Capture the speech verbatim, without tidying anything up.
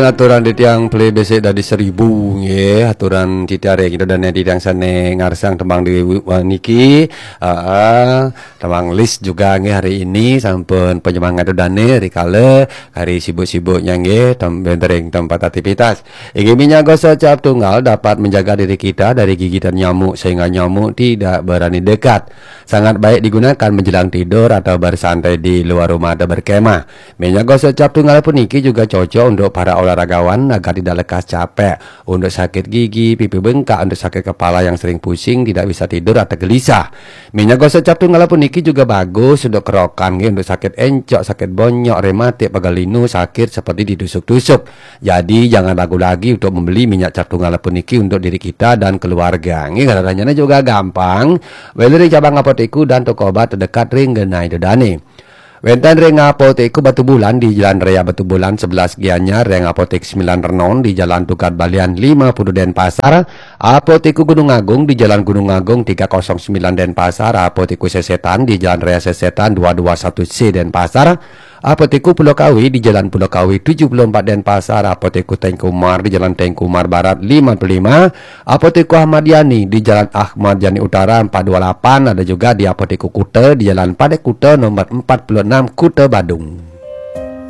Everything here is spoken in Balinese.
Aturan titiang pelih besik dadi seribu nggih. Aturan titiang ring ida dané titiang sané ngarsang tembang di wa-, niki. Heeh, tembang list juga nggih hari ini sampun penyemangat ida dané rikala hari sibuk-sibuknya nggih tem-, wénten ring tempat aktivitas. Inggih, minyak gosok cap tunggal dapat menjaga diri kita dari gigitan nyamuk sehingga nyamuk tidak berani dekat. Sangat baik digunakan menjelang tidur atau bersantai di luar rumah atau berkemah. Minyak gosok cap tunggal puniki juga cocok untuk para olahragawan agar tidak lekas capek, untuk sakit gigi, pipi bengkak, untuk sakit kepala yang sering pusing, tidak bisa tidur atau gelisah. Minyak gosok cap tunggal puniki juga bagus untuk kerokan, nggih, untuk sakit encok, sakit bonyok, rematik, pegal linu, sakit seperti ditusuk-tusuk. Jadi jangan ragu lagi untuk membeli minyak cap tunggal puniki untuk diri kita dan keluarga. Nggih, ngeranjana juga gampang. Beli ring cabang apotek dan toko obat terdekat ring genah ida dané. Wénten ring Apotek Batubulan di Jalan Raya Batubulan sebelas Gianyar, ring Apotek Sembilan Renon di Jalan Tukad Balian lima puluh Denpasar, Apotek Gunung Agung di Jalan Gunung Agung tiga kosong sembilan Denpasar, Apotek Sesetan di Jalan Raya Sesetan dua dua satu C Denpasar, Apotek Pulau Kawi di Jalan Pulau Kawi tujuh puluh empat Denpasar, Apotek Tengku Umar di Jalan Tengku Umar Barat lima puluh lima, Apotek Ahmad Yani di Jalan Ahmad Yani Utara empat dua lapan, ada juga di Apotek Kuta di Jalan Padek Kuta nomor empat puluh enam, Kuta Badung.